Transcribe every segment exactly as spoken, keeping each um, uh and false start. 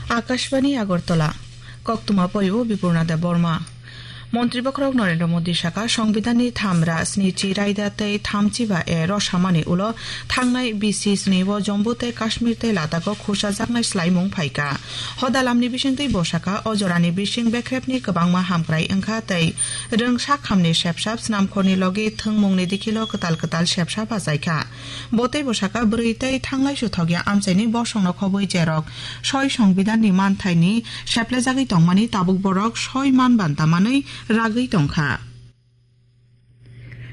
Akashbani Agartala, koktwma porio Bipurna Debbarma. Montri bokhorok Narendra Modi saka, Songbidanni thamra snichi raida tei thamchiba A rosamani ulo thangnai bisi sni o Jammu tei Kashmir tei Ladakh o khusajaknai swlaimung phaikha. Hodalamni bisingtwi bo saka, o jorani bising bekrepni kwbangma hamkrai wngkha tei rwngsak hamni sepsap snamkhorni logi thwngmungni dikhilo kwtal kwtal sepsap achaikha. Bo tei bo saka, bwrwi tei thanglai suthokya amchaini bosongno khobwi jerok soi Songbidanni manthaini seplejagwi tongmani tabuk borok soi man banta manwi ragwi tongkha.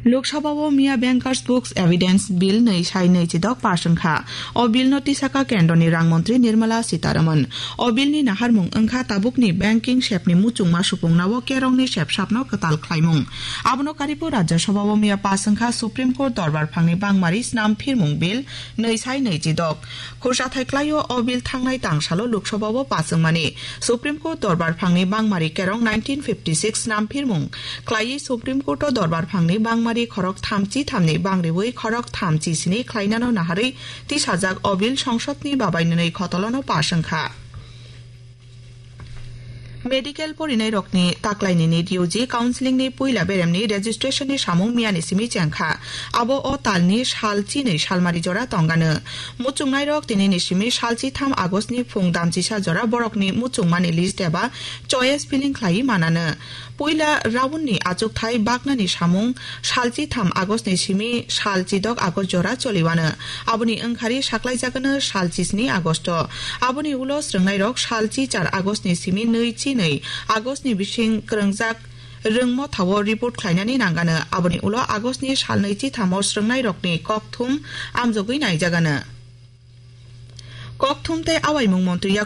Lok Sabha o miya Bankers Books Evidence Bill nwi sai nwi chidok pass wngkha. O bill no tisaka kendroni rang montri Nirmala Sitharaman. O bill ni naharmung wngkha tabukni banking sepni muchungma supungna o kerongni sepsapno kwtal khlaimung. Abono karwi bo Rajya Sabha o miya pass wngkha Supreme Court dorbar phangni bangmari snam phirmung bill nwi sai nwi chidok. Khursa thai klaio o bill thangnai tangsalo Lok Sabha o pass wngmani. Supreme Court dorbar phangni bangmari kerong nineteen fifty six snam phirmung. Klaiwi Supreme Court o dorbar phangni bangmari khorok thamchi thamni bangriwi khorok thamchi sini khlainano naharwi tisajak o bill songsodni babainini khotolono pass wngkha. Medical porinairokni taklainini D U G counselling ni puila beremni registration ni samung miyani simi chengkha. Abo o talni sal chinwi salmari jora tongano. Muchungnairok tinini simi sal chitham August ni phung damchisa jora borokni muchungmani list eba choice filling khlaiwi manano. Puila round ni achukthai baknani samung sal chitham August ni simi sal chidok August jora choliwano. Aboni wngkhari saklaijagano sal chisni August o. Aboni ulo srwngnairok sal chi char August ni simi nwi chi nwi August ni bising kwrwngjak rwngmotha o report khlainani nangano. Aboni ulo August ni sal nwi chitham o srwngnairokni kokthum amjogwi naijagano. Kokthum tei awaimung montri yak